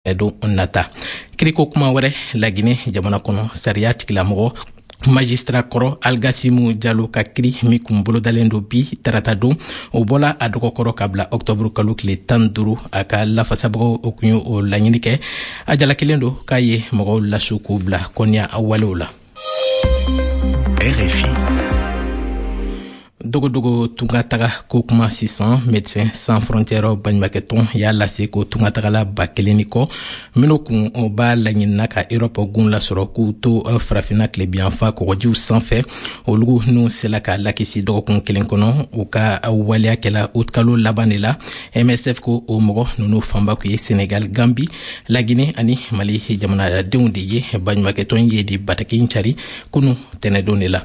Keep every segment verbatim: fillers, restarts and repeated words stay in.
Don nata, kiriko kuma wɛrɛ, Lagine jamana kɔnɔ, sariya tigilamɔgɔ magistrat kɔrɔ Algasimu Jalo ka kiri min kun bolodalen don bi tarata don, o bɔla a dɔgɔkɔrɔ ka bila ɔktɔburu kalo tile tan duuru. A ka lafasabagaw o kun ye o laɲini kɛ. A jalakilen don k'a ye mɔgɔw lasu k'u bila kɔniya walew la. R F I. Dogodogo tunga taga ko kuma sisan. Médecins Sans Frontières baɲumakɛtɔn y'a lase ko tungatagala ba kelen ni kɔ minnu kun b'a laɲinina ka Erɔpɔ gun lasɔrɔ k'u to Farafinna tilebiyanfa kɔgɔjiw sanfɛ, olu n'u sela ka lakisi dɔgɔkun kelen kɔnɔ. U ka waleya kɛla utikalo laban de la. M S F ko o mɔgɔ nunu fanba kun ye Senegal, Gambi, Lagine ani Mali jamanadenw de ye. Baɲumakɛtɔn ye di bataki cari kunu tɛnɛdon de la.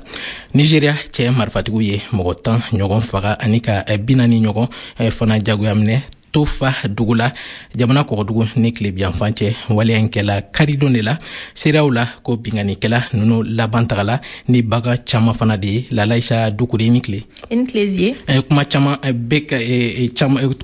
Nigeria cɛ marifatigiw ye mɔgɔ tan ɲɔgɔn faga ani ka bi naani ɲɔgɔn fana jagoya minɛ Tofa dugu la, jamana kɔgɔdugu ni tilebiyanfan cɛ. Waleya in kɛla karidon de la. Seereyaw la ko binganikɛla nunu laban tagala ni bagan caman fana de ye. Lalaisa Dukure, ni tile. I ni tile, Zie. Kuma caman bɛ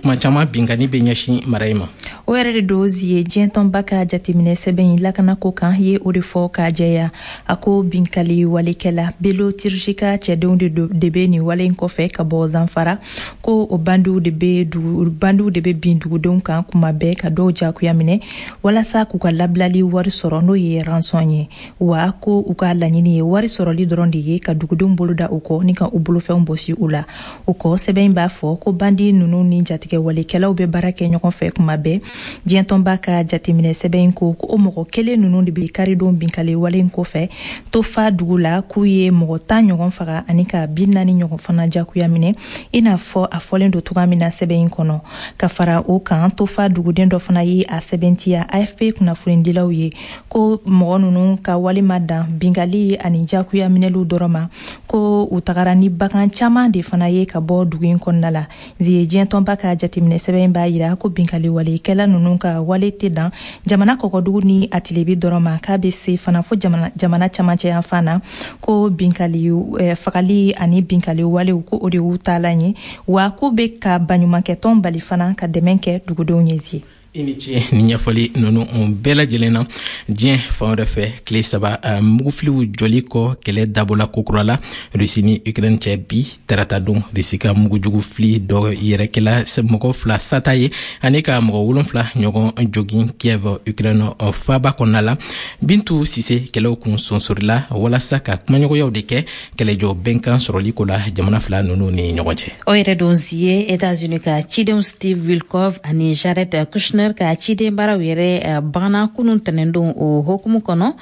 kuma caman, bingani bɛ ɲɛsin mara in ma. O yɛrɛ de don, Zie. Diɲɛ tɔnba ka jateminɛ sɛbɛn in lakanako kan ye o de fɔ k'a jɛya. A ko binkali walekɛla Bello Turji ka cɛdenw de bɛ nin wale in kɔfɛ ka bɔ Zanfara. Ko o bandiw de bɛ dugu bandiw de bɛ bin dugudenw kan kuma bɛɛ ka dɔw jagoya minɛ walasa k'u ka labilali wari sɔrɔ, n'o ye rançon ye. Wa ko u ka laɲini ye wari sɔrɔli dɔrɔn de ye, ka dugudenw bolo da u kɔ ni ka u bolofɛnw bɔsi u la. O kɔ, sɛbɛn in b'a fɔ ko bandi ninnu ni jatigɛ walekɛlaw bɛ baara kɛ ɲɔgɔn fɛ kuma bɛɛ. Diɲɛtɔnba ka jateminɛ sɛbɛn in ko ko o mɔgɔ kelen ninnu de bɛ karidon binkali wale in kɔfɛ Tofa dugu la, k'u ye mɔgɔ tan ɲɔgɔn faga ani ka bi naani ɲɔgɔn fana jagoya minɛ, i n'a fɔ a fɔlen don cogoya min na sɛbɛn in kɔnɔ. Ka fara o kan, Tofa duguden dɔ fana ye a sɛbɛntiya A F P kunnafonidilaw ye ko mɔgɔ ninnu ka walima dan binkali ani jagoya minɛliw dɔrɔn ma, ko u tagara ni bagan caman de fana ye ka bɔ dugu in kɔnɔna la. Zie, diɲɛtɔnba ka jateminɛ sɛbɛn b'a yira ko binkali walekɛla ninnu ka wale tɛ dan jamana kɔkɔdugu ni a tilebi dɔrɔn ma, k'a bɛ se fana fo jamana, jamana camancɛ yanfan na. Ko binkali eh, fagali ani binkali walew, ko o de y'u taalan ye. Wa k'u bɛ ka baɲumankɛtɔn bali fana ka dɛmɛ kɛ dugudenw ye, Zie. I ni ce ni ɲɛfɔli nunu bɛɛ lajɛlen na. Diɲɛ fan wɛrɛ fɛ, tile saba mugufiliw jɔli kɔ, kɛlɛ dabɔla kokura la Rusi ni Ukraine cɛ bi tarata don. Rusi ka mugujugu fili dɔ yɛrɛ kɛla mɔgɔ fila sata ye ani ka mɔgɔ wolonfila ɲɔgɔn jogin Kiev, Ukraine faaba kɔnɔna la. Bintu Sise, kɛlɛw kun sonsorila walasa ka kumaɲɔgɔnyaw de kɛ kɛlɛjɔ bɛnkan sɔrɔli ko la jamana fila nunu ni ɲɔgɔn cɛ. O yɛrɛ don, Zie, Etats-Unis ka cidenw Steve Witkoff ani Jared Kushner ka ciden baaraw yɛrɛ banna kunun tɛnɛndon. O hokumu kɔnɔ,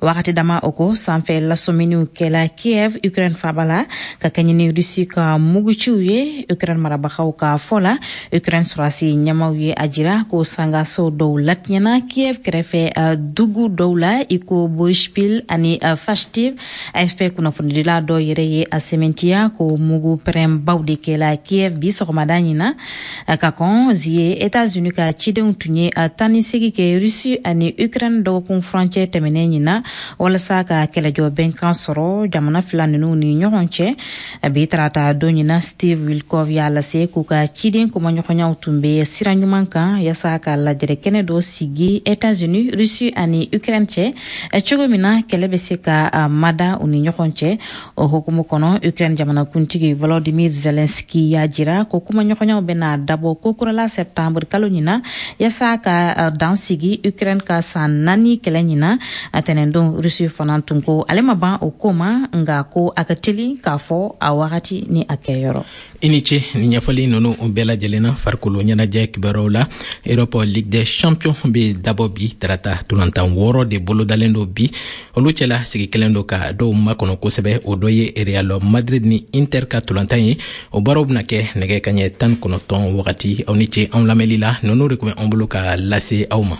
wagati dama o ko sanfɛ lasɔminiw kɛla Kiev, Ukraine faba la, ka kɛɲɛ ni Rusi ka muguciw ye. Ukraine marabagaw ka fɔ la, Ukraine sɔrɔdasi ɲɛmaw ye a jira ko sangaso dɔw latiɲɛna Kiev kɛrɛfɛ dugu dɔw la, i ko Boryspil ani Fastiv. A F P kunnafonidila dɔw yɛrɛ ye a sɛmɛntiya ko mugu pɛrɛnbaw de kɛla Kiev bi sɔgɔmada ɲina. Ka kɔn, Zie, Etats-Unis ka cidenw tun ye taa ni segi kɛ Rusi ani Ukraine dɔgɔkun furancɛ tɛmɛnen ɲina walasa ka kɛlɛjɔ bɛnkan sɔrɔ jamana fila ninnu ni ɲɔgɔn cɛ. Bi tarata don ɲina, Steve Witkoff y'a lase k'u ka ciden kumaɲɔgɔnyaw tun bɛ sira ɲuman kan yaasa ka lajɛrɛ kɛnɛ dɔ sigi Etats-Unis, Rusi ani Ukraine cɛ, cogo min na kɛlɛ bɛ se ka mada u ni ɲɔgɔn cɛ. O hukumu kɔnɔ, Ukraine jamanakuntigi Volodymyr Zelensky y'a jira ko kumaɲɔgɔnyaw bɛna dabɔ kokurala septembre kalo ɲina yaasa ka dan sigi Ukraine ka san naani kɛlɛ ɲina. A tɛnɛndon, Rusi fana tun ko ale ma ban o ko ma, nka ko a ka teli k'a fɔ a wagati ni a kɛyɔrɔ. I ni ce ni ɲɛfɔli nunu bɛɛ lajɛlen na. Farikolo ɲɛnajɛ kibaruyaw la, Europe Ligue des Champions bɛ dabɔ bi tarata. Tolantan wɔɔrɔ de bolodalen don bi. Olu cɛla sigi kelen don ka dɔw makɔnɔ kosɛbɛ, o dɔ ye Real Madrid ni Inter ka tolantan ye. O baaraw bena kɛ nɛgɛ kaɲɛ tan kɔnɔtɔn wagati. Aw ni ce anw lamɛnli la. Nunu de kun bɛ an bolo ka lase aw ma.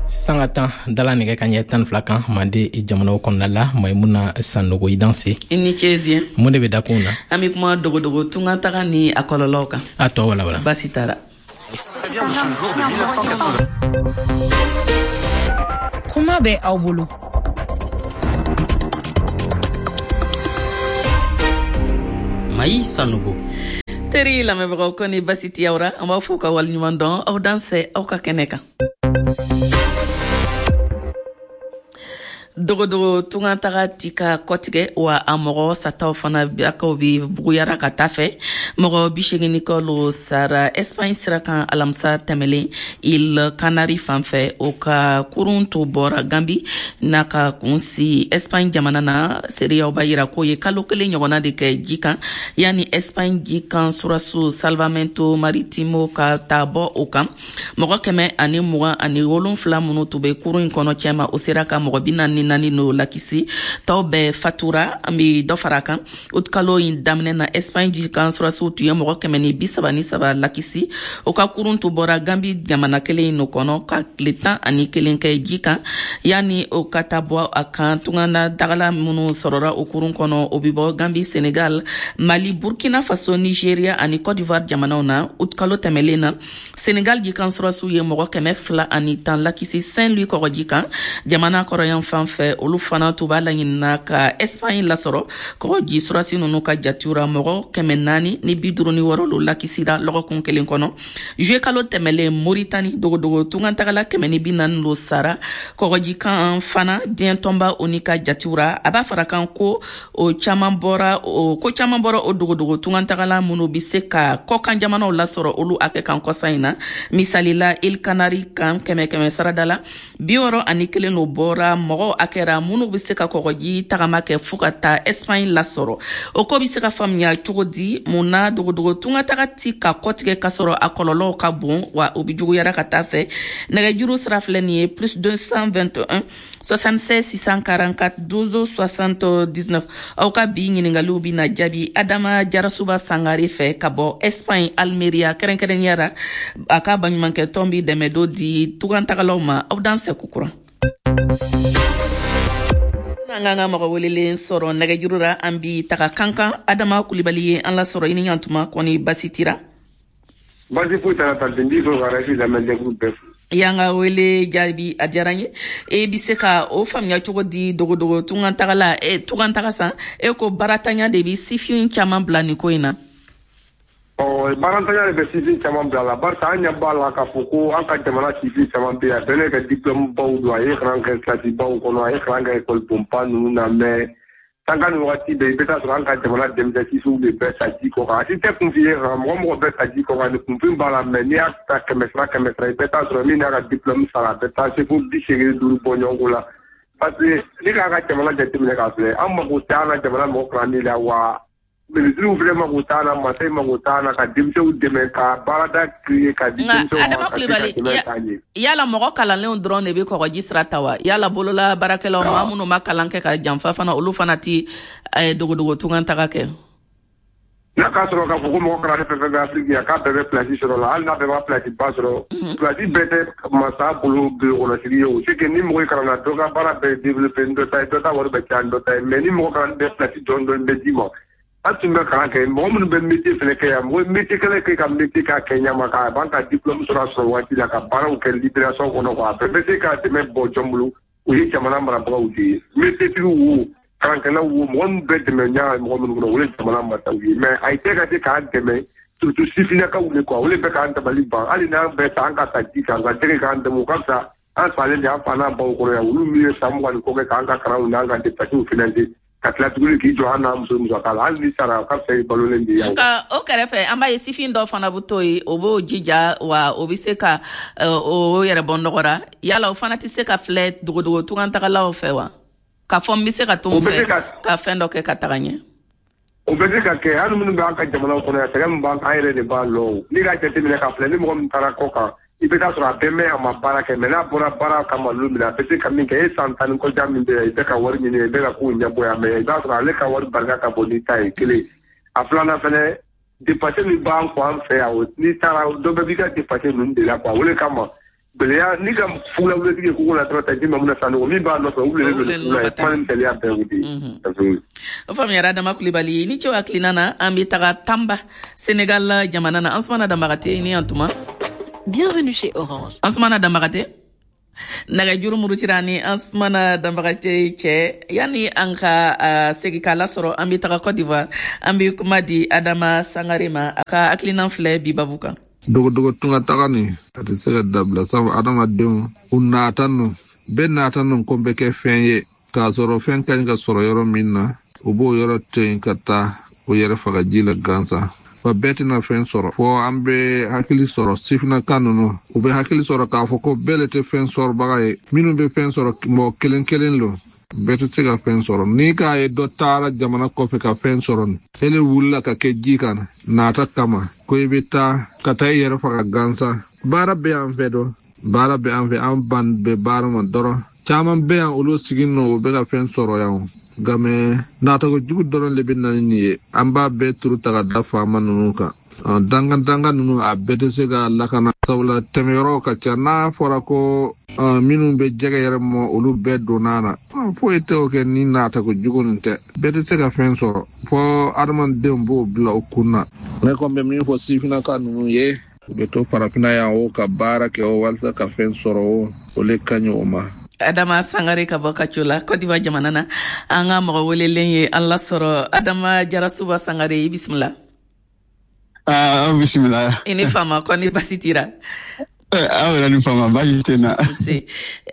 Sanga tan dala nɛgɛ ka ɲɛ tan fila kan Mande jamanaw kɔnɔna la. Maimuna Sanogo, i danse. I ni ce, Zie. Mun de bɛ dakun na? An bɛ kuma dogodogo tunga taga ni a kɔlɔlɔw kan. A tɔ wala wala. Basi tara. Kuma bɛ aw bolo. Mayi Sanogo. Teri lamɛnbagaw, ko ni basi tɛ aw ra, an b'aw fo ka waleɲuman dɔn. Aw dansɛ aw ka kɛnɛ kan. Dogodogo tunga taga ti ka kɔtigɛ wa, a mɔgɔ sataw fana akaw bi buguyara ka taa fɛ. Mɔgɔ bi segin ni kɔ lo sara Espagne sira kan alamisa tɛmɛlen, Îles Canaries fan fɛ. O ka kurun to bɔra Gambi n'a ka kun si Espagne jamana na. Seereyaw b'a yira k'o ye kalo kelen ɲɔgɔnna de kɛ ji kan yanni Espagne ji kan surasiw Salvamento Maritimo ka taa bɔ o kan. Mɔgɔ kɛmɛ ani mugan ani wolonfila minnu tun bɛ kurun in kɔnɔ cɛma, o sera ka mɔgɔ bi naani ni naani n'o lakisi, tɔw bɛɛ fatura. An bɛ dɔ fara a kan, kalo in daminɛ na, Espagne jikan surasiw tun ye mɔgɔ kɛmɛ ni bi saba ni saba lakisi. O ka kurun tun bɔra Gambi jamana kelen in kɔnɔ ka tile tan ani kelen kɛ ji kan yanni o ka taa bɔ a kan. Tungana dagala minnu sɔrɔra o kurun kɔnɔ, o bɛ bɔ Gambi, Senegal, Mali, Burkina Faso, Nigeria ani Cote d'Ivoire jamanaw na. Kalo tɛmɛlen na, Senegal jikan surasiw ye mɔgɔ kɛmɛ fila ani tan lakisi Saint Louis kɔgɔji kan, jamana kɔrɔyan fan fɛ. Olu fana tun b'a laɲinina ka Espagne lasɔrɔ. Kɔgɔji surasi ninnu ka jatiw ra, mɔgɔ kɛmɛ naani ni bi duuru ni wɔɔrɔ lo lakisira lɔgɔkun kelen kɔnɔ. Juillet kalo tɛmɛlen, Moritani, dogodogo tungantagala kɛmɛ ni bi naani lo sara kɔgɔji kan fana. Diɲɛ tɔnba o ni ka jatiw ra, a b'a fara kan ko o caman bɔra o ko caman bɔra o dogodogo tungantagala minnu bi se ka kɔkan jamanaw lasɔrɔ, olu hakɛ kan kɔsa in na. Misali la, Îles Canaries kan, kɛmɛ kɛmɛ sarada la, bi wɔɔrɔ ani kelen lo bɔra mɔgɔw a kɛra minnu bɛ se ka kɔgɔji tagama kɛ fo ka taa Espagne lasɔrɔ. O ko bɛ se ka faamuya cogo di? Mun na dogodogo tungataga ti ka kɔtigɛ ka sɔrɔ a kɔlɔlɔw ka bon wa, o bɛ juguyara ka taa fɛ? Nɛgɛjuru sira filɛ nin ye: plus deux cent vingt et un soixante-seize six cent quarante-quatre douze soixante-dix-neuf. Aw ka bi ɲiningaliw bɛ na jaabi Adama Jarasuba Sangare fɛ ka bɔ Espagne, Almeria kɛrɛnkɛrɛnnenya la. A ka baɲumankɛ tɔn bi dɛmɛ dɔ di tugantagalaw ma. Aw dan sɛku kuran. An k'an ka mɔgɔ welelen sɔrɔ nɛgɛjuru la. An bi taga Kankan, Adama Kulibali ye an lasɔrɔ. I ni ɲantuma, kɔni basi tira? Basi foyi t'a la, tante. N b'i fo ka R F I lamɛnjɛkulu bɛɛ fo. Y'an ka wele jaabi, a diyara n ye. E bi se ka o faamuya cogo di, dogodogo tungan e tungan san, e ko baaratanya de bi sifin caman bila nin ko in na? Ɔ, baarantanya de bɛ sifin caman bila la, barisa an ɲɛ b'a la k'a fɔ ko an ka jamana sifin caman bɛ yen, a bɛɛ ne ka diplôme baw don, a ye kalan kɛ kilasi baw kɔnɔ, a ye kalan kɛ école bonba ninnu na, mais sanga ni wagati bɛɛ, i bɛ taa sɔrɔ an ka jamana denmisɛn sifinw de bɛ sa ji kɔ kan. A si tɛ kunfin ye kan, mɔgɔ mɔgɔ bɛ sa ji kɔ kan ni kunfin b'a la, mais n'i y'a ta kɛmɛ sara kɛmɛ sara, i bɛ taa sɔrɔ min n'a ka diplôme sara, a bɛ taa se fo bi seegin ni duuru bɔ ɲɔgɔn ko la. Parce que ni k'a ka jamana jateminɛ k'a filɛ, an mako tɛ an ka jamana mɔgɔ kalanni la wa, minisiriw fɛnɛ mako t'an na, mansaw mako t'an na ka denmisɛnw dɛmɛ ka baarada créer ka di denmisɛnw ma ka se ka dɛmɛ k'a ɲɛ. Yala mɔgɔ kalanlenw dɔrɔn de bɛ kɔgɔji sira ta wa? Yala bolola baarakɛlaw, maa minnu ma kalan kɛ ka janfa fana, olu fana ti dogodogo tungan taga kɛ? N'a k'a sɔrɔ k'a fɔ ko mɔgɔ kalannen fɛn fɛn bɛ Afiriki yan, k'a bɛɛ bɛ place sɔrɔ la, hali n'a bɛɛ b'a place ba sɔrɔ, place bɛɛ tɛ masa bolo bulon ye. O c'est que ni mɔgɔ ye kalan na, dɔ ka baara bɛɛ développé ni dɔ ta ye, dɔ ta wari bɛ caya ni dɔ ta ye, mais ni mɔgɔ kalan bɛ, place dɔɔni dɔɔni bɛ d'i ma. An tun bɛ kalan kɛ, mɔgɔ minnu bɛ métier fɛnɛ kɛ yan, mɔgɔ métier kɛlɛ kɛ ka métier k'a kɛ ɲama k'a ban ka diplôme sɔrɔ a sɔrɔ waati la ka baaraw kɛ libération kɔnɔ quoi. A bɛɛ bɛ se ka dɛmɛ bɔ jɔn bolo? O ye jamana marabagaw de ye. Métier tigiw wo, kalankɛlaw wo, mɔgɔ minnu bɛ dɛmɛ ɲa mɔgɔ minnu kɔnɔ, o ye jamana masaw ye, mais a tɛ ka se k'an dɛmɛ, surtout sifinnakaw de quoi. O de bɛ k'an dabali ban. Hali n'an bɛɛ ta an ka sa ji kan, ka jɛgɛ k'an dɛmɛ, o ka fisa an salen de an fa n'an baw kɔrɔ yan, olu min ye san mugan ni kɔ kɛ k'an ka kalanw n'an ka dépenses financer, ka tila tuguni k'i jɔ an n'an muso musaka la. Hali ni sara, o ka fisa i balolen de ye. Nka o kɛrɛfɛ, an b'a ye sifin dɔ fana bɛ to yen, o b'o jija wa, o bɛ se ka o yɛrɛ bɔ nɔgɔ la. Yala o fana tɛ se ka filɛ dogodogo tungantagalaw fɛ wa, k'a fɔ n bɛ se ka to n fɛ ka fɛn dɔ kɛ ka taga ɲɛ? O bɛ se ka kɛ. Hali minnu bɛ an ka jamana kɔnɔ yan, sɛgɛn min b'an kan, an yɛrɛ de b'a lɔn. N'i k'a jateminɛ k'a filɛ, ni mɔgɔ min taara kɔ kan, i bɛ taa sɔrɔ a bɛɛ mɛn a ma baara kɛ, mais n'a bɔra baara kama don min na, a bɛ se ka min kɛ, e san tan ni kɔjan min bɛ yan, i bɛ ka wari ɲini, i bɛ ka kow ɲɛbɔ yan, mais i b'a sɔrɔ ale ka wari barika ka bon n'i ta ye kelen. A filanan fɛnɛ, dépense min b'an kɔ an fɛ yan, n'i taara, dɔ bɛɛ b'i ka dépense ninnu de la quoi. O de kama gɛlɛya n'i ka fugulawuletigi ye kogo la dɔrɔn, ta ji ma mun na sanogo min b'a nɔfɛ, u wulilen don ni fugula ye, kuma ni teliya bɛɛ o de ye. O faamuyara, Adama Kulibali, ni cɛw hakilina na. An bɛ taga Tamba, Senegal jamana na. Ansumana Danbagate, ni yan tuma. Bienvenue chez Orange. Ansumana Danbagate. Nɛgɛjuru murutira ni Ansumana Danbagacɛ cɛ. Yanni an ka uh, segin k'a lasɔrɔ, an bɛ taga Cote d'Ivoire, an bɛ kuma di Adama Sangare ma, a ka hakilina filɛ bi babu kan. Dogodogo tunga taga nin, a tɛ se ka dabila, sabu adamadenw u nata nu bɛɛ nata nu ko bɛ kɛ fɛn ye, k'a sɔrɔ fɛn ka ɲi ka sɔrɔ yɔrɔ min na, u b'o yɔrɔ to yen ka taa o yɛrɛ faga ji la gansan. Wa bɛɛ tɛna fɛn sɔrɔ, fɔ an bɛ hakili sɔrɔ, sifinaka ninnu u bɛ hakili sɔrɔ k'a fɔ ko bɛɛ le tɛ fɛn sɔrɔbaga ye. Minnu bɛ fɛn sɔrɔ, mɔgɔ kelen kelen lo, bɛɛ tɛ se ka fɛn sɔrɔ. N'i k'a ye dɔ taara jamana kɔfɛ ka fɛn sɔrɔ nin, ele wulila ka kɛ ji kan nata kama ko i bɛ taa ka taa i yɛrɛ faga gansan. Baara bɛ an fɛ dɔn, baara bɛ an fɛ, an ban bɛ baara ma dɔrɔn. Caman bɛ yan, olu sigi nɔ, u bɛ ka fɛn sɔrɔ yan, nka mɛ natago jugu dɔrɔn de bɛ na ni nin ye. An b'a bɛɛ turu ta ka da faama ninnu kan. Dangan dangan ninnu, a bɛɛ tɛ se ka lakana, sabula tɛmɛyɔrɔw ka ca. N'a fɔra ko minnu bɛ jɛgɛ yɛrɛ mɔ, olu bɛɛ donna na, foyi tɛ o kɛ ni natago jugu nin tɛ. Bɛɛ tɛ se ka fɛn sɔrɔ, fɔ adamadenw b'o bila o kun na. Ne kɔni bɛ min fɔ sifinnaka ninnu ye, u bɛ to farafinna yan o, ka baara kɛ o, walasa ka fɛn sɔrɔ o, o le ka ɲi o ma. Adama Sangare ka bɔ Kaco la, Cote d'Ivoire jamana na. An ka mɔgɔ welelen ye an lasɔrɔ, Adama Jarasuba Sangare, i bisimila. Ah, bisimila. I ni fama, kɔni basi tira? Aw yɛrɛ ni fama, baasi tɛ na.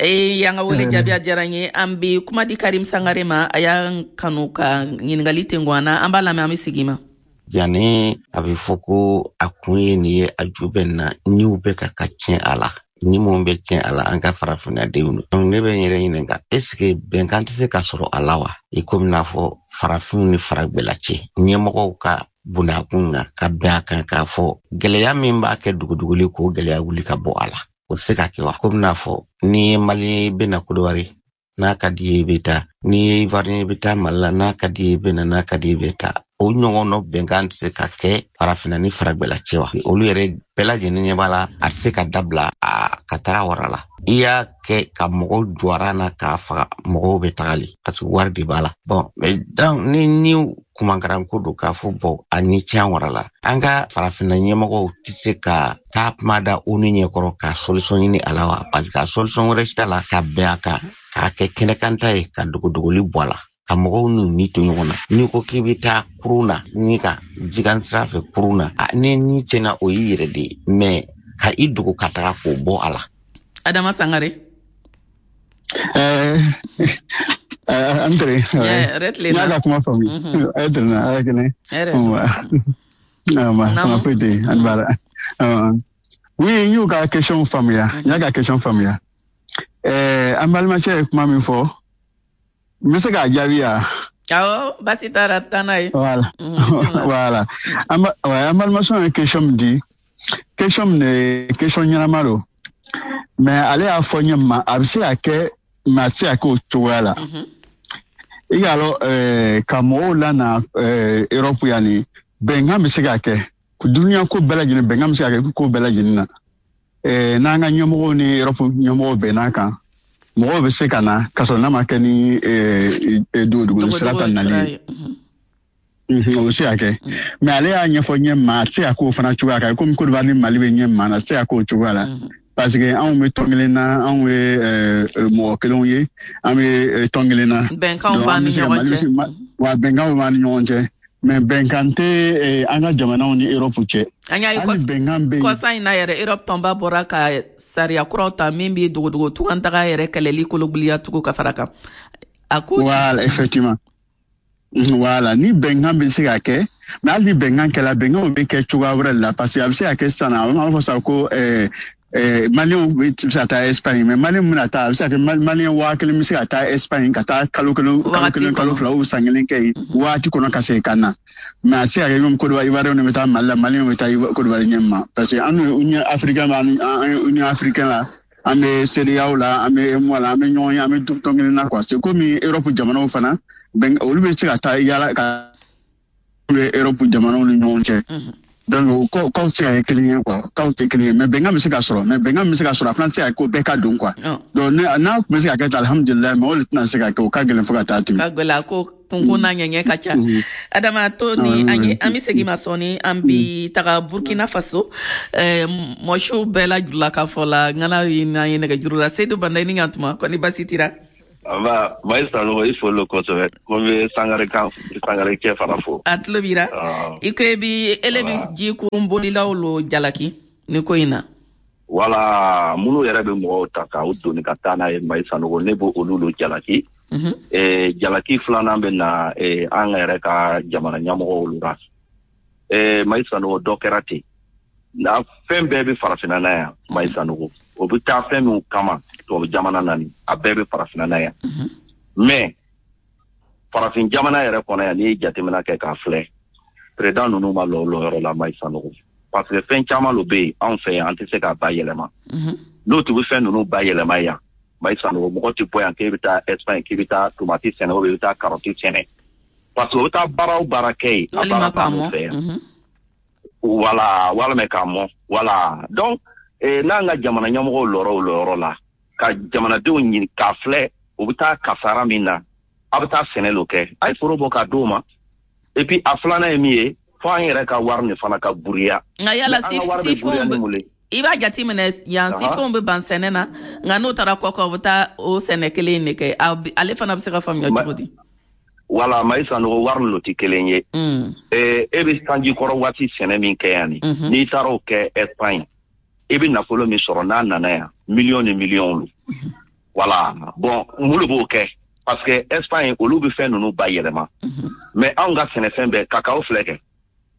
E y'an ka wele jaabi, a diyara n ye. An bɛ kuma di Karim Sangare ma, a y'an kanu ka ɲininkali tengun an na, an b'a lamɛn, an bɛ segin ma. Yanni a bɛ fɔ ko a kun ye nin ye, a ju bɛ na, niw bɛ ka ka tiɲɛ a la, ni mun bɛ tiɲɛ a la, an ka farafinnadenw don. Ne bɛ n yɛrɛ ɲininka, est ce que bɛnkan tɛ se ka sɔrɔ a la wa? I komi n'a fɔ farafinw ni faragbɛla cɛ, ɲɛmɔgɔw ka bunakun kan ka bɛn a kan k'a fɔ gɛlɛya min b'a kɛ duguduguli, k'o gɛlɛya wuli ka bɔ a la, o tɛ se ka kɛ wa? Komi n'a fɔ ni ye Mali bɛ na Kodowari, n'a ka di ye i bɛ taa, n'i ye Ivoirien i bɛ taa Mali la, n'a ka di ye i bɛ na, n'a ka di ye i bɛ taa. O ɲɔgɔn dɔ bɛnkan tɛ se ka kɛ farafinna ni faragbɛla cɛ wa? Olu yɛrɛ bɛɛ lajɛlen ɲɛ b'a la, a tɛ se ka dabila a ka taga wara la. I y'a kɛ ka mɔgɔw jɔra na k'a faga, mɔgɔw bɛ tagali parce que wari de b'a la. Bon, mais donc ni ni kumankaranko don k'a fɔ bɔn a ni tiɲɛ wara la, an ka farafinna ɲɛmɔgɔw tɛ se ka taa kuma da ONU ɲɛkɔrɔ ka solution ɲini a la wa? Parce que a solution wɛrɛ t'a la ka bɛn a kan, k'a kɛ kɛnɛkanta ye, ka dogodogoli bɔ a la, ka mɔgɔw n'u ni to ɲɔgɔn na. N'i ko k'i bɛ taa kurun na, ni ka jikan sira fɛ kurun na, ni ni tiɲɛna, o y'i yɛrɛ de ye, mɛ ka i dogo ka taga k'o bɔ a la. Adama Sangare. An tere. Yɛrɛ. N y'a ka kuma faamu. A ye tere na, a ye kɛnɛ. Ma sama foyi tɛ yen, an b'a la. Oui, n y'u ka question faamuya, n y'a ka question faamuya. An balimacɛ ye kuma min fɔ, n bɛ se k'a jaabi ya? Awɔ, basi taara, taa n'a ye. Voilà. Voilà. An balimamuso ye question min di, question min de, question ɲɛnama don. Mais ale y'a fɔ ɲɛ ma, a bɛ se ka kɛ, mais a tɛ se ka kɛ o cogoya la. I k'a lɔn, ka mɔgɔw lana Europe yan nin, bɛnkan bɛ se ka kɛ. Dunuya ko bɛɛ lajɛlen, bɛnkan bɛ se ka kɛ ko bɛɛ lajɛlen na. N'an ka ɲɛmɔgɔw ni Europe ɲɛmɔgɔw bɛnn'a kan, mɔgɔw bɛ se ka na k'a sɔrɔ n'a ma kɛ ni dogodogoli sira ta nali ye. O bɛ se ka kɛ, mais ale y'a ɲɛfɔ ɲɛ ma, a tɛ se ka k'o fana cogoya kan, komi Côte d'Ivoire ni Mali bɛ ɲɛ ma na, a tɛ se ka k'o cogoya la. Parce que anw bɛ tɔn kelen na, anw ye mɔgɔ kelenw ye, an bɛ tɔn kelen na. Bɛnkanw b'an ni ɲɔgɔn cɛ. Wa bɛnkanw b'an ni ɲɔgɔn cɛ. Mais bɛnkan tɛ an ka jamanaw ni Europe cɛ. An y'a ye kɔsa in na yɛrɛ, Europe tɔnba bɔra ka sariya kuraw ta min bɛ dogodogo tungantaga yɛrɛ kɛlɛli kologiliya tugun ka fara kan. A ko. Voilà, effectivement. Voilà, ni bɛnkan bɛ se ka kɛ, mais hali ni bɛnkan kɛla, bɛnkanw bɛ kɛ cogoya wɛrɛ de la, parce que a bɛ se ka kɛ sisan, a b'a fɔ sisan ko Maliyɛnw bɛ se ka taa Espagne, mais Maliyɛn bɛna taa, a bɛ se ka kɛ Maliyɛn waa kelen bɛ se ka taa Espagne ka taa kalo kelen, kalo kelen, kalo fila ou san kelen kɛ yen waati kɔnɔ ka segin ka na. Mais a tɛ se ka kɛ komi Côte d'Ivoire, Ivoiriyɛnw bɛ taa Mali la, Maliyɛnw bɛ taa Côte d'Ivoire ɲɛ ma, parce que an ni Union africaine b'an an Union africaine la, an bɛ CEDEAO la, an bɛ UEMOA la, an bɛ ɲɔgɔn ye, an bɛ tɔn kelen na quoi. C'est comme Europe jamanaw fana, olu bɛ se ka taa yala ka Europe jamanaw ni ɲɔgɔn cɛ. Donc kaw tɛ se ka kɛ kelen ye quoi, kaw tɛ kelen ye, mais bɛnkan bɛ se ka sɔrɔ, mais bɛnkan bɛ se ka sɔrɔ, a fana tɛ se ka ko bɛɛ ka don quoi. Donc n'a tun bɛ se ka kɛ ten, alihamudulilayi, mais o de tɛna se ka kɛ, o ka gɛlɛn fo ka taa tɛmɛ. Ka gɛlɛn, a ko Kunkun n'a ɲɛɲɛ ka ca. Adama to ni an ye, an bɛ segin ma sɔɔni. An bi taga Burkina Faso, mɔsiw bɛɛ la jula ka fɔ la ŋana ye n'an ye nɛgɛjuru la. Seydou Banda, i ni ɲantuma, kɔni basi tira? Aba Mayi Sanogo, i folo kosɛbɛ. Ko n bɛ Sangare kan, Sangare cɛ fana fo. A tulo b'i la. I ko i bi ele bi ji kurun bolilaw lo jalaki ni ko in na. Wala minnu yɛrɛ bɛ mɔgɔw ta k'u doni ka taa n'a ye, Mayi Sanogo, ne b'o olu lo jalaki. Eh, jalaki filanan bɛ na eh, an yɛrɛ ka jamana ɲɛmɔgɔw olu la. Eh, Mayi Sanogo, dɔ kɛra ten na, fɛn bɛɛ bɛ farafinna na yan. Mayi Sanogo, o bɛ taa fɛn min kama tubabu jamana na nin, a bɛɛ bɛ farafinna na yan. Mais farafin jamana yɛrɛ kɔnɔ yan, n'i ye jateminɛ kɛ k'a filɛ, président ninnu ma lɔ o lɔyɔrɔ la, Mayi Sanogo, parce que fɛn caman lo bɛ yen anw fɛ yan, an tɛ se k'a bayɛlɛma. N'o tun bɛ fɛn ninnu bayɛlɛma yan, Mayi Sanogo, mɔgɔ tɛ bɔ yan k'e bɛ taa Espagne, k'i bɛ taa tomati sɛnɛ ou bien i bɛ taa karɔti sɛnɛ, parce que o bɛ taa baara o baara kɛ yen, a baara b'anw fɛ yan. Wala walima k'a mɔn. Wala donc eh, n'an ka jamana ɲɛmɔgɔw lɔrɔ o lɔyɔrɔ la ka jamanadenw ɲini k'a filɛ, u bɛ taa kasara min na, a bɛ taa sɛnɛ lo kɛ, a ye foro bɔ k'a d'o ma. Et puis a filanan ye min ye, fo an yɛrɛ ka wari nin fana ka buriya. Nka yala sifinw, i b'a jateminɛ yan, sifinw bɛ ban sɛnɛ na, nka n'o taara kɔkan, u bɛ taa o sɛnɛ kelen in de kɛ. Ale fana bɛ se ka faamuya cogo di? Wala Mayi Sanogo, wari lo tɛ kelen ye. E bɛ sanji kɔrɔ waati sɛnɛ min kɛ yan nin, n'i taara o kɛ Espagne, i bɛ nafolo min sɔrɔ n'a nana yan, miliyɔn ni miliyɔn lo. Wala bon, mun de b'o kɛ? Parce que Espagne, olu bɛ fɛn ninnu bayɛlɛma. Mais anw ka sɛnɛfɛn bɛɛ, kakao filɛ kɛ,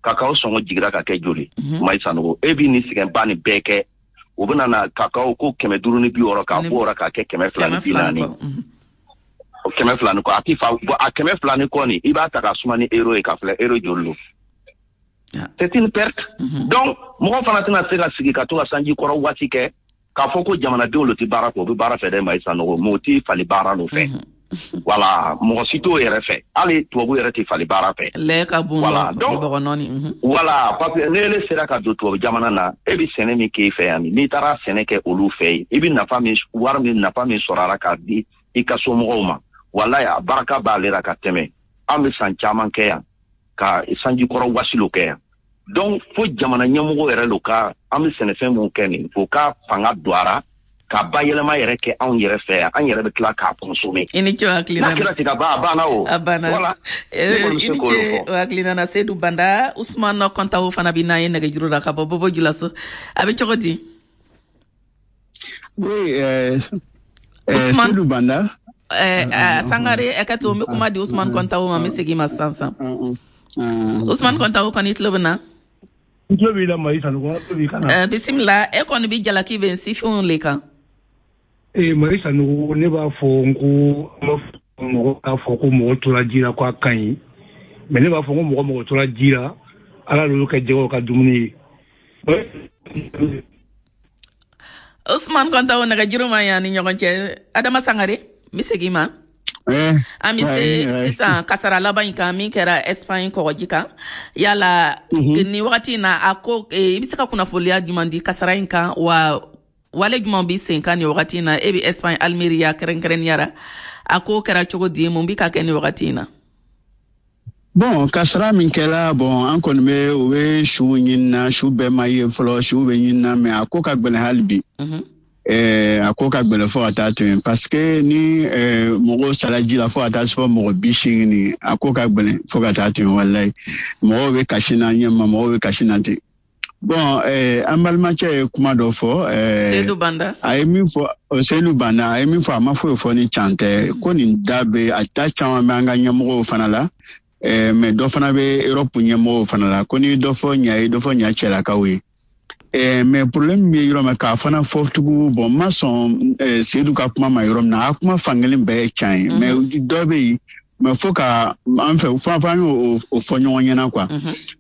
kakao sɔngɔ jigira ka kɛ joli? Mayi Sanogo, e b'i ni sɛgɛnba nin bɛɛ kɛ, u bɛna na kakao ko kɛmɛ duuru ni bi wɔɔrɔ, k'a bɔ o la k'a kɛ kɛmɛ fila ni bi naani, kɛmɛ fila ni kɔ. A ti fa a kɛmɛ fila ni kɔ nin, i b'a ta ka suma ni euro ye, ka filɛ euro joli lo. C'est une perte. Donc mɔgɔ fana tɛna se ka sigi ka to ka sanji kɔrɔ waati kɛ k'a fɔ ko jamanadenw lo tɛ baara kɛ. O bɛ baara fɛ dɛ, Mayi Sanogo, mais o tɛ fali baara lo fɛ. Wala mɔgɔ si t'o yɛrɛ fɛ, hali tubabu yɛrɛ tɛ fali baara fɛ. Lɛ ka bon. Wala donc wala, parce que n'ele sera ka don tubabu jamana na, e bɛ sɛnɛ min k'e fɛ yan, n'i taara sɛnɛ kɛ olu fɛ yen, i bɛ nafa min, wari min, nafa min sɔrɔ a la k'a di i ka somɔgɔw ma, walayi a barika b'ale la ka tɛmɛ an bɛ san caman kɛ yan ka sanji kɔrɔ wasilo kɛ yan. Donc fo jamana ɲɛmɔgɔw yɛrɛ lo ka an bɛ sɛnɛfɛn mun kɛ nin, o ka fanga don a la ka bayɛlɛma yɛrɛ kɛ anw yɛrɛ fɛ yan, an yɛrɛ bɛ tila k'a consommer. I ni ce o hakilina na. N'a kɛra ten ka ban, a banna o. A banna. Voilà. I ni ce o hakilina na, Seydou Banda. Ousmane Kɔntawo fana bɛ n'an ye nɛgɛjuru la ka bɔ Bobo Julaso. A bɛ cogo di? Oui, euh, euh, Seydou Banda. Euh, Sangare, a ka to n bɛ kuma di Ousmane Kɔntawo ma, n bɛ segin ma sisan sisan. Ousmane Kɔntawo kɔni, i tulo bɛ na? N tulo b'i la, Mayi Sanogo, n tulo b'i kan na. Bisimila, e kɔni bɛ jalaki bɛ sifinw le kan. Ee Mayi Sanogo, ne b'a fɔ n ko mɔgɔ k'a fɔ ko mɔgɔ tora ji la k'a ka ɲi, mais ne b'a fɔ ko mɔgɔ mɔgɔ tora ji la, Ala l'olu kɛ jɛgɛw ka dumuni ye. Ousmane Kɔntawo, nɛgɛjuru ma yan ni ɲɔgɔn cɛ. Adama Sangare, n bɛ segin ma. An bɛ se sisan kasara laban in kan min kɛra Espagne kɔgɔji kan. Yala nin wagati in na, a ko i bɛ se ka kunnafoniya jumɛn di kasara in kan, wa wale jumɛn bɛ sen kan nin wagati in na? E bɛ Espagne Almeria kɛrɛnkɛrɛnnenya la, a ko kɛra cogo di, mun bɛ ka kɛ nin wagati in na? Bon, kasara min kɛra, bon, an kɔni bɛ u bɛ su ɲini na, su bɛɛ ma ye fɔlɔ, su bɛ ɲini na, mais a ko ka gɛlɛn hali bi. Eh, a ko ka gɛlɛn fo ka taa tɛmɛ, parce que ni eh, mɔgɔw sara ji la fo ka taa se fɔ mɔgɔ bi seegin ni, a ko ka gɛlɛn fo ka taa tɛmɛ, walayi. Mɔgɔw bɛ kasi na ɲɛ ma, mɔgɔw bɛ kasi na ten. Bon, eh, an balimacɛ ye kuma dɔ fɔ. Eh, Seydou Banda. A ye min fɔ, Seydou Banda, a ye min fɔ, a ma foyi fɔ ni can tɛ. Ko nin da bɛ, a da caman bɛ an ka ɲɛmɔgɔw fana la. Eh, mais dɔ fana bɛ Europe ɲɛmɔgɔw fana la. Ko ni dɔ fɔ ɲa ye, dɔ fɔ ɲa cɛlakaw ye. Eh, mais problème min ye yɔrɔ min k'a fana fɔ tugun, bon, n ma sɔn eh, Seydou ka kuma ma yɔrɔ min na, a kuma fankelen bɛɛ ye can ye. Mais dɔ bɛ yen, mais fo ka an fɛ fo an y'o o fɔ ɲɔgɔn ɲɛna quoi.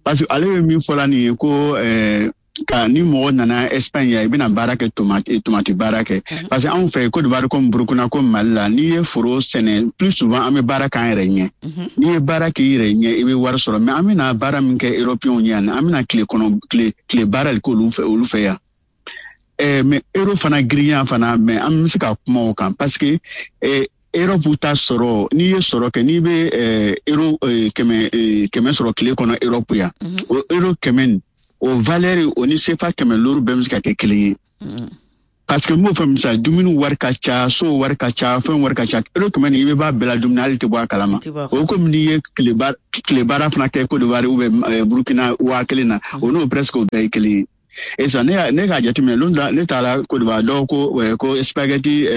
Parce que ale bɛ min fɔla nin ye ko eh, ka ni mɔgɔ nana Espagne yan, i bɛna baara kɛ, tomati tomati baara kɛ. Parce que anw fɛ Côte d'Ivoire comme Burkina comme Mali la, n'i ye foro sɛnɛ, plus souvent an bɛ baara k'an yɛrɛ ɲɛ. N'i ye baara k'i yɛrɛ ɲɛ, i bɛ wari sɔrɔ. Mais an bɛna baara min kɛ européens ɲɛ yan, an bɛna tile kɔnɔ tile tile baara de k'olu fɛ olu fɛ yan. Eh, mais euro fana girinya fana, mais an bɛ se ka kuma o kan parce que eh, Europe ta sɔrɔ, n'i ye sɔrɔ kɛ, n'i bɛ euro kɛmɛ kɛmɛ sɔrɔ tile kɔnɔ Europe yan, o euro kɛmɛ o valeur o ni C F A kɛmɛ looru bɛɛ bɛ se ka kɛ kelen ye. Parce que n b'o fɔ misali, dumuni wari ka ca, so wari ka ca, fɛn wari ka ca. Euro kɛmɛ nin, i bɛ b'a bɛɛ la dumuni, hali tɛ bɔ a kalama. O komi n'i ye tile baara fana kɛ Côte d'Ivoire ou bien Burkina waa kelen na, o n'o presque o bɛɛ ye kelen ye. Et ça, ne ne k'a jateminɛ, lon dɔ ne taara Côte d'Ivoire, dɔw ko ko spaghetti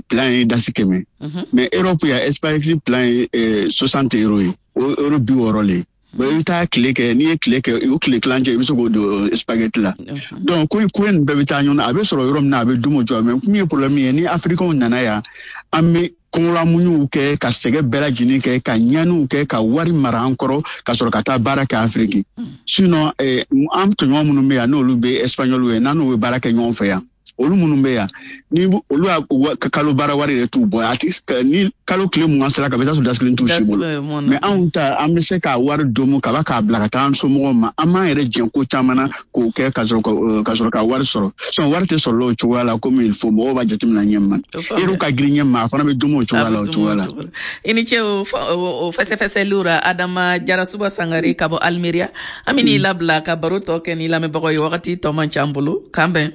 plat ye dasi kɛmɛ, mais Europe yan, spaghetti plat ye soixante euros ye, o euro bi wɔɔrɔ le ye. Bon, i bɛ taa tile kɛ, n'i ye tile kɛ, o tile tilancɛ, i bɛ se k'o don spaghetti la. Donc ko ko nin bɛɛ bɛ taa ɲɔgɔn na, a bɛ sɔrɔ yɔrɔ min na, a bɛ dun o cogoya. Mais min ye problème ye, ni Africains nana yan, an bɛ kɔngɔlamuɲuw kɛ, ka sɛgɛn bɛɛ lajɛlen kɛ, ka ɲaniw kɛ, ka wari mara an kɔrɔ, ka sɔrɔ ka taa baara kɛ Afiriki. Sinon an tɔɲɔgɔn minnu bɛ yan, n'olu bɛ Espagnol ye, n'an n'u bɛ baara kɛ ɲɔgɔn fɛ yan, olu minnu bɛ yan, ni olu y'a kalo baara wari yɛrɛ t'u bɔ, a ti ni kalo tile mugan sera ka bɛ taa sɔrɔ dasi kelen t'u si bolo. Mais anw ta, an bɛ se ka wari domu ka k'a bila ka taa an somɔgɔw ma, an b'an yɛrɛ jɛn ko caman na k'o kɛ, ka sɔrɔ ka sɔrɔ ka wari sɔrɔ. Sinon wari tɛ sɔrɔ o cogoya la komi il faut. Mɔgɔw b'a jateminɛ ɲɛ ma, euro ka girin ɲɛ ma, a fana bɛ domu o cogoya la o cogoya la. I ni ce o fɛsɛfɛsɛliw ra. Adama Jarasuba Sangare ka bɔ Almeria, an bɛ n'i labila ka baro tɔ kɛ ni lamɛnbagaw ye. Wagati tɔ man ca an bolo, k'an bɛn.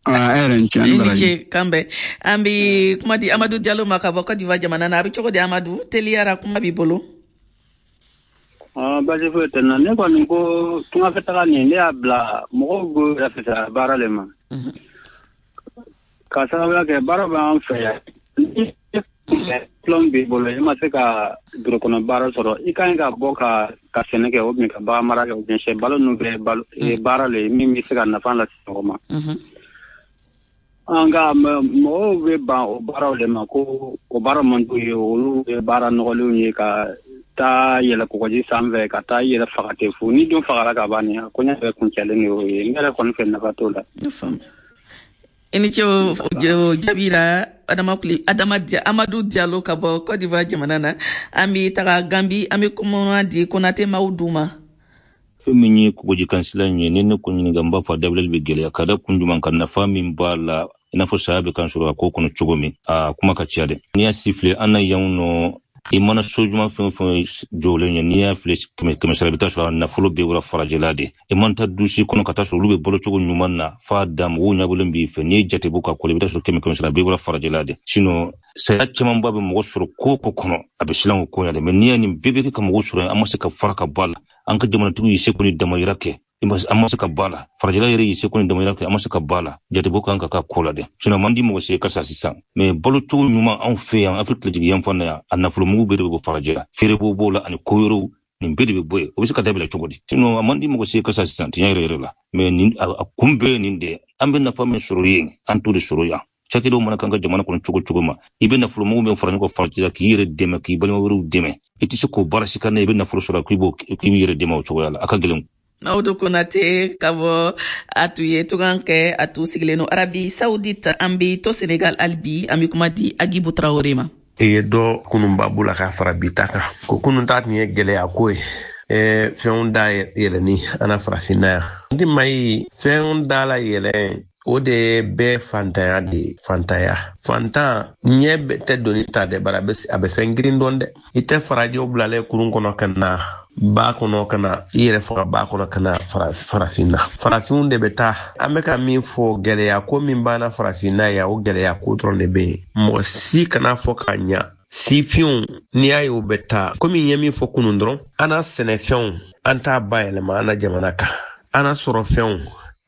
A yɛrɛ ni ce. I ni ce, k'an bɛn. An bɛ kuma di Amadu Jalo ma ka bɔ Côte d'Ivoire jamana na. A bɛ cogo di Amadu? Teliyara, kuma b'i bolo. Basi foyi tɛ na. Ne kɔni ko tungafɛ taga nin, ne y'a bila mɔgɔw b'o yɛrɛ fisaya baara le ma, k'a sababuya kɛ baara b'an fɛ yan. Ni diplôme b'i bolo, i ma se ka biro kɔnɔ baara sɔrɔ, i ka ɲi ka bɔ ka ka sɛnɛ kɛ, ou bien ka bagan mara kɛ, ou bien sɛ balo ninnu bɛɛ balo baara le min bɛ se ka nafa lase mɔgɔ ma. Nka mɔgɔw bɛ ban o baaraw de ma, ko o baara man d'u ye, olu ye baara nɔgɔlenw ye, ka taa yɛlɛ kɔgɔji sanfɛ, ka taa yɛlɛ faga ten fu. Ni dun fagara ka ban, nin koɲɛ bɛɛ kuncɛlen de y'o ye. Ne yɛrɛ kɔni fɛ, nafa t'o la. I ni ce o jaabi la, Adama Adama Amadu Diallo ka bɔ Côte d'Ivoire jamana na. An bɛ taga Gambi, an bɛ kuma di Konate Mawudu ma. Fɛn min ye kɔgɔjikansila in ye, ni ne ko ɲininka, n b'a fɔ a dabilali bɛ gɛlɛya ka da kun jumɛn kan, nafa min b'a la, i n'a fɔ saya bɛ kan sɔrɔ a ko kɔnɔ cogo min, a kuma ka ca dɛ. N'i y'a sifile an na yan nɔ, i mana so ɲuman fɛn o fɛn jɔlen ye, n'i y'a filɛ kɛmɛ kɛmɛ sara, i bɛ taa sɔrɔ a nafolo bɛɛ bɔra farajɛla de. I man taa dusi kɔnɔ ka taa sɔrɔ olu bɛ balo cogo ɲuman na f'a dan, mɔgɔw ɲɛbɔlen b'i fɛ, n'i ye jate bɔ ka kɔlɔ, i bɛ taa sɔrɔ kɛmɛ kɛmɛ sara, bɛɛ bɔra farajɛla de. Sinon saya camanba bɛ mɔgɔ sɔrɔ ko ko kɔnɔ, a bɛ silan o ko ɲɛ dɛ. Mais n'i y'a nin bɛɛ bɛ kɛ ka mɔgɔ sɔrɔ, an ma se ka fara ka bɔ a la. An ka jamanatigiw y'i seko ni damayira kɛ, an ma se ka bɔ a la. Farajɛla yɛrɛ y'i seko ni damayira kɛ, an ma se ka bɔ a la. Jatebɔ kan ka k'a ko la dɛ. Sinon man di mɔgɔ si ka sa sisan. Mais balo cogo ɲuman anw fɛ yan, Afiriki tilejigi yanfan na yan, a nafolomugu bɛɛ de bɛ bɔ farajɛla, feerebɔ b'o la ani ko wɛrɛw, nin bɛɛ de bɛ bɔ yen. O bɛ se ka dabila cogo di? Sinon a man di mɔgɔ si ka sa sisan, tiɲɛ yɛrɛ yɛrɛ la. Mais nin a kun bɛɛ ye nin de ye. An bɛ nafa min sɔrɔ yen, an t'o de sɔrɔ yan. Cakɛdaw mana k'an ka jamana kɔnɔ cogo cogo ma, i bɛ nafolomugu min fara ɲɔgɔn kan farajɛla k'i yɛrɛ dɛmɛ, k'i balima wɛrɛw dɛmɛ, i tɛ se k'o baara si kan, i bɛ nafolo sɔrɔ k'i b'o k'i b'i yɛrɛ dɛmɛ o cogoya la, a ka gɛlɛn. Mawudu Konate ka bɔ a tun ye tungan kɛ, a tun sigilen don Arabi Saoudite. An bɛ to Senegal hali bi, an bɛ kuma di Agibu Traoré ma. I ye dɔ kununba b'u la k'a fara bi ta kan, ko kunun ta tun ye gɛlɛya ko ye, fɛnw da yɛlɛni an na farafinna yan. N ti mayi fɛnw da la yɛlɛn, o de ye bɛɛ fantanya de ye. Fantanya, fantan ɲɛ tɛ doni ta dɛ, bari a bɛ fɛn girin dɔn dɛ. I tɛ farajɛw bilalen kurun kɔnɔ ka na ba kɔnɔ, ka na i yɛrɛ faga ba kɔnɔ ka na farafinna. Farafinw de bɛ taa. An bɛ ka min fɔ, gɛlɛya ko min banna farafinna yan, o gɛlɛya ko dɔrɔn de bɛ yen. Mɔgɔ si kana fɔ ka ɲa sifinw, n'i y'a ye u bɛ taa, komi n ye min fɔ kunun dɔrɔn, an na sɛnɛfɛnw an t'a bayɛlɛma an na jamana kan, an na sɔrɔfɛnw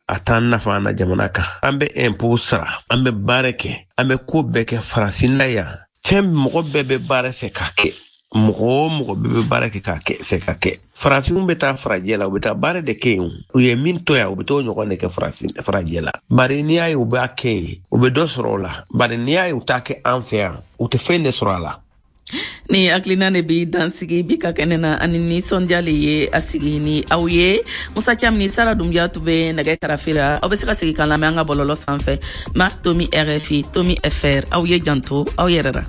a t'an nafa an na jamana kan. An bɛ impôt sara, an bɛ baara kɛ, an bɛ ko bɛɛ kɛ farafinna yan. Fɛn mɔgɔ bɛɛ bɛ baara fɛ k'a kɛ, mɔgɔ o mɔgɔ bɛɛ bɛ baara kɛ k'a kɛ fɛ k'a kɛ. Farafinw bɛ taa farajɛ la, u bɛ taa baara de kɛ yen. U ye min to yan, u bɛ t'o ɲɔgɔn de kɛ farafin farajɛ la. Bari n'i y'a ye u b'a kɛ yen, u bɛ dɔ sɔrɔ o la. Bari n'i y'a ye u t'a kɛ an fɛ yan, u tɛ fɛn de sɔrɔ a la. Ni hakilina de bi dansigi bi ka kɛnɛ na, ani nisɔndiya le ye a sigi ni aw ye. Musa Camu ni Sara Dunbiya tun bɛ nɛgɛ karafe la. Aw bɛ se ka segin k'an lamɛn an ka bɔlɔlɔ sanfɛ, ma tomi R F I tomi F R. Aw ye janto aw yɛrɛ la.